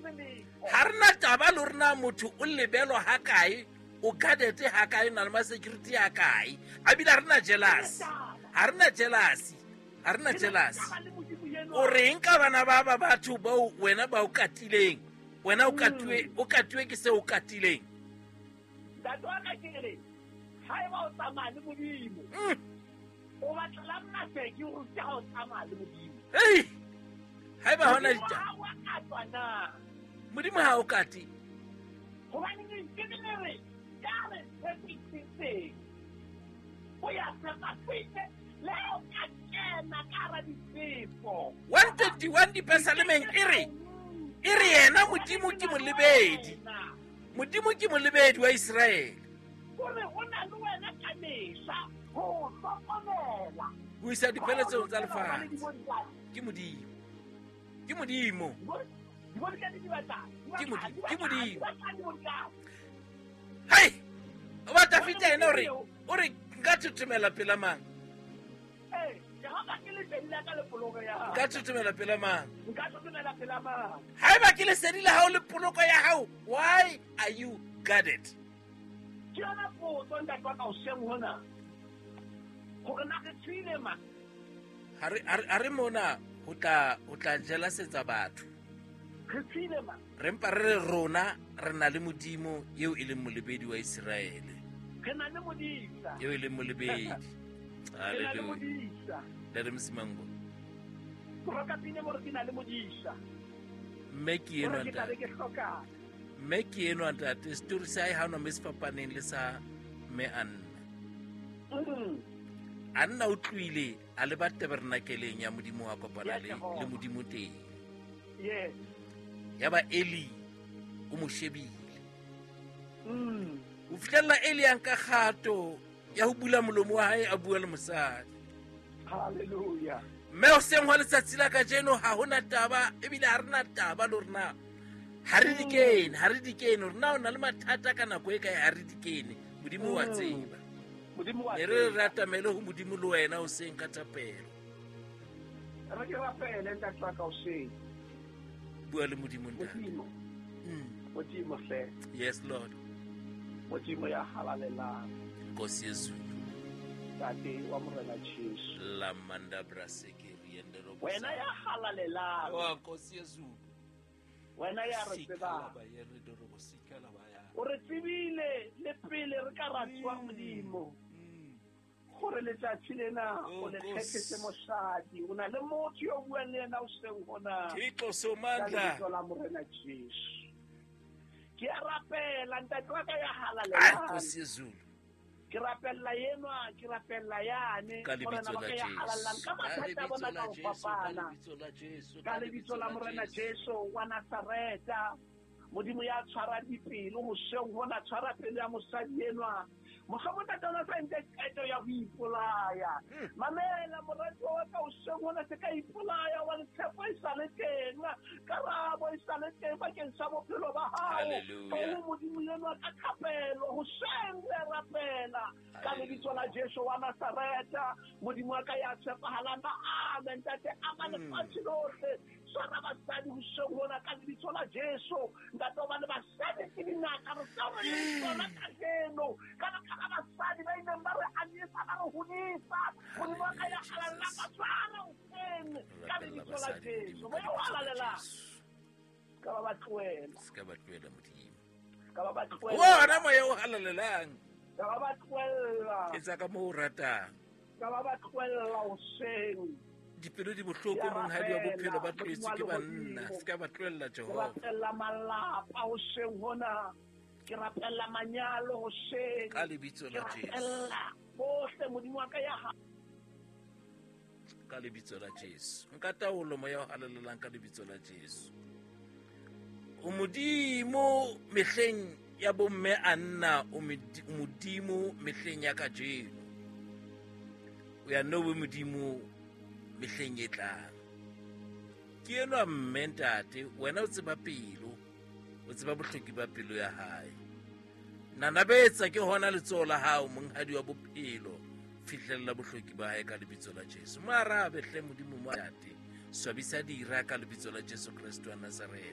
tsebe letho. Ha re na taba le hore na motho o lebelwa ha kae, o guarded ha kae, o na le ma-security ha kae. A bile ha re na jealous. Ha re na jealousy. Ha re na jealousy. O reng ka bana ba ba batho bao wena ba o katileng? Wena o katuwe, o katuwe ke seo o katileng. Ntate wa ka ke re, haeba o tsamaya le Modimo, o batlela maseki o rute ha o tsamaya le Modimo. Hei! Haeba hona Modimo ditaba. ha wa katwa na? Modimo ha o kate. Hobane lentswe le le re, ya re tshepisitseng, o ya tshepa le ha o ka kena ka hara difefo. 121 dipesalemeng e re, e re yena Modimo ke molebedi. Modimo ke molebedi wa Iseraele. O re o na le wena ka mehla ho hlokomela. Ho isa dipheletsong tsa lefatshe. Ke Modimo. Ke Modimo. Ke Modimo. Ke Modimo. Hai! O ba Dafita yena o re, o re nka thothomela pela mang? Jehova ke lesedi la ka le poloko ya hao. Nka thothomela pela mang? Nka thothomela pela mang? Haeba ke lesedi la hao le poloko ya hao, why are you guarded? Ke yona potso ntate wa ka hoseng hona. Hore na re tswile ma? Ha re, ha re, ha re mona ho tla, ho tla jelasetsa batho. Re tswile ma? Re mpa re re rona re na le Modimo eo e leng molebedi wa Iseraele. Re na le modisa. Eo e leng molebedi. Re na le Hallelujah. modisa. Le re Msimango. Roka pine mo re ke na le modisa. Mme ke enwa Hore ke tla be ntate. ke hlokang. Mme ke enwa ntate. Story sa hae ha ona mo se fapaneng le sa mme Anna. Anna o tlohile a leba tabernakeleng ya Modimo wa kopana Ya le, Jehova. le Modimo teng. Yes. Ya ba Eli o mo shebile. Ho fihlella Eli a nka kgato ya ho bula molomo wa hae a bua le mosadi. Hallelujah. Mme hoseng hwa letsatsi la kajeno ha hona taba, ebile ha re na taba le hore na ha re di kene, ha re di kene, hore na o na le mathata ka nako e kae, ha re di kene. Modimo wa tseba. Modimo wa Ne re tseba. re atamele ho Modimo le wena hoseng ka thapelo. Re ke rapele ntate wa ka hoseng. Bua le Modimo ntate. Modimo. Modimo hle. Yes Lord. Modimo ya halalelang. Nkosi Yezulu. Ntate wa Morena Jesu. La manda braseke riende robo. Wena ya halalelang. Wa Nkosi Yezulu. Wena ya re Sika tsebang. la ba ye re dorobo, sika la ba ya. O re tsebile le pele re ka ra tswa Modimo. Gore letsatsi lena Oh, o le Nkosi. kgethetse mosadi. O na le motho yo o buang le yena hoseng hona. Thixo Ka Somandla. lebitso la Morena Jesu. Ke a rapela ntate wa ka ya Ai, halalelang. Nkosi Yezulu. Ke rapella enwa, ke rapella yane. Ka lebitso Morena wa la ka ya Jesu. halalelang. Ka Ka mathata a lebitso bona la ka ho Jesu, ka fapana. lebitso la Jesu, Ka lebitso la Morena Jesu wa Nazareta. Modimo ya tshwarang dipelo hoseng hona, tshwara pelo ya mosadi enwa. Mohlomong ntate ona sa entse qeto ya ho ipolaya. Mamela moratuwa wa ka hoseng hona, se ka ipolaya hobane tshepo e sa le teng, karabo e sa le teng bakeng sa bophelo ba hao. Hallelujah. Oh, Modimo enwa ka thapelo hoseng re a rapela ka lebitso la Jesu wa Nazareta. Modimo wa ka ya tshepahalang ba amen. Ntate, ama lefatshe lohle. Tshwara basadi hoseng hona ka lebitso la Jesu. Ntate, hobane basadi ke dingaka, re tseo re leng tsona kajeno. Ka baka la basadi ba ileng ba re anyesa, ba re hodisa. Modimo wa ka ya halalelang, ba tshware hoseng ka Rapella lebitso la basadi, Jesu. Modimo, ka Moya o lebitso la halalelang. Jesu. Ka ba ba tlohela. Se ka ba tlohela, Modimo. Ka ba ba tlohela. Ona moya o halalelang. Ka ba ba tlohela. Etsa ka moo o ratang. Ka ba ba tlohela hoseng. Dipelo di bohloko, Ke a monghadi wa bophelo, ba rapela, tlohetswe ke Modimo wa banna. lehodimo. Se ka ba tlohella, Ke Jehova. rapella malapa hoseng hona. Ke rapella manyalo hoseng. Ka lebitso la Ke Jesu. rapella bohle, Modimo wa ka ya ha. Ka lebitso la Jesu. Nka taolo moya o halalelang ka lebitso la Jesu. O Modimo mehleng ya bomme Anna, o Modimo mehleng ya kajeno. O ya nno be Modimo mehleng e tlang. Ke enwa mme ntate, wena o tseba pelo, o tseba bohloki ba pelo ya hae. Nanabetsa ke hona letsoho la hao, monghadi wa bophelo, fihlella bohloki ba hae ka lebitso la Jesu. Mo arabe hle Modimo mo ntate, swabisa dira ka lebitso la Jesu Kreste wa Nazareth.